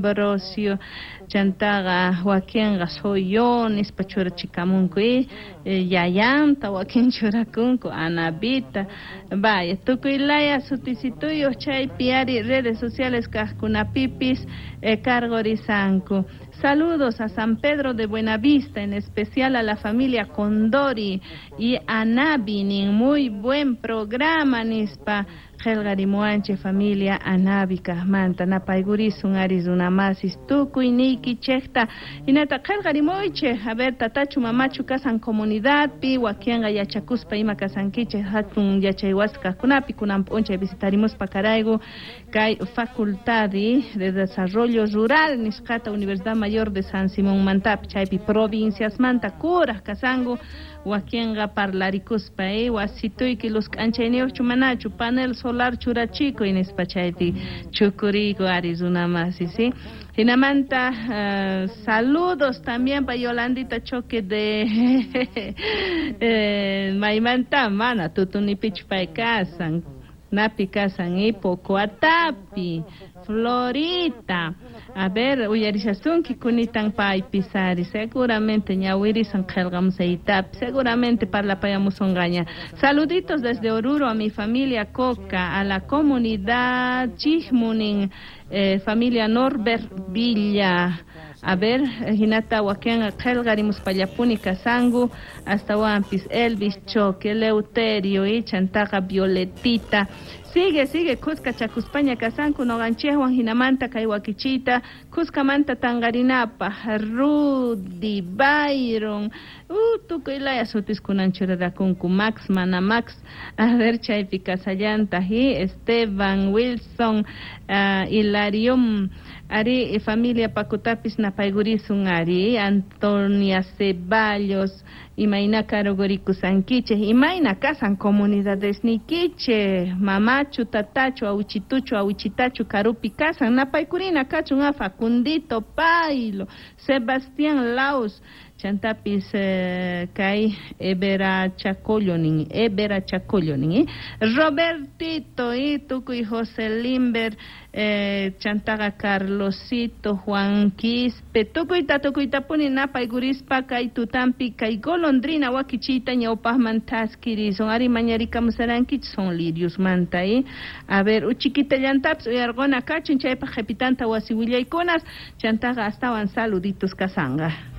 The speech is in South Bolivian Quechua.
Ambrosio, chantaqa wakinqa soy yo nispa churachikamunku yayanta wakin churakunku Anabita, vaya tukuy laya sutisituyuq chaypi ari redes sociales kaqkunapipis cargorisanku. Saludos a San Pedro de Buenavista, en especial a la familia Condori y a Nabi, nin muy buen programa nispa qhelqarimuwanchik familia Anabi kaqmanta napaykurisun ari runamasis tukuy niykichikta hinata qhelqarimuychik a ver tatachu mamachu kasan comunidadpi wakinqa yachakuspa ima kasankichik hatun yachaywasi kaqkunapi kunan p'unchay visitarimuspa karayku kay Facultad de Desarrollo Rural nisqata Universidad Mayor de San Simón mantapi chaypi provinciasmanta kuraj kasanku wakinqa parlarikuspa wasituyki luz k'anchayniyuqchu manachu panel solar churachikuy nispa chaypi chukuriyku ari runamasi ¿sí? Hinamanta saludos también pa Yolandita Choque de maymanta mana tutunipichu pay kasan napi kasan Pocoatapi Florita. A ver, uyarishasunki kunitan paypis ari seguramente ñawirisan qhelqamusaytapi seguramente parlapayamusunqaña. Saluditos desde Oruro a mi familia Coca, a la comunidad Chijmunin, familia Norbert Villa. A ver, hinata wakinqa qhelqarimuspallapuni kasanku astawanpis Elvis Choque, Eleuterio y chantaqa Violetita. Sigue, sigue, kuska chakuspaña kasanku noqanchikwan hinamanta kay wakichiyta kuskamanta tanqarinapaq Rudy, Byron, tukuy laya sutiskunan churarakunku Max, mana Max, a ver chaypi kasallantaq Esteban, Wilson, Hilarion, ari familia Pacutapis napaykurisun ari, Antonia Ceballos, imayna karugurikusankichik, imayna kasan comunidadesniykichik, mamachu, tatachu, awichituchu, awichitachu karupi kasan, napaykurina kachun a Facundito, Pailo, Sebastián Laos, chantapis kay Evera Chacollo nin, Evera Chacollo nin, Robertito y tukuy José Limber, chantaqa Carlosito, Juan Quispe, tukuyta tukuytapuni napaykurispa kay tutampi kay golondrina wakichiyta ñawpaqman thaskirisun ari mañarikamusarankichik son liriosmanta a ver uchiquitallantapis uyarquna kachun chaypaq qhipitanta wasi willaykunas chantaqa astawan saluditos kasanqa.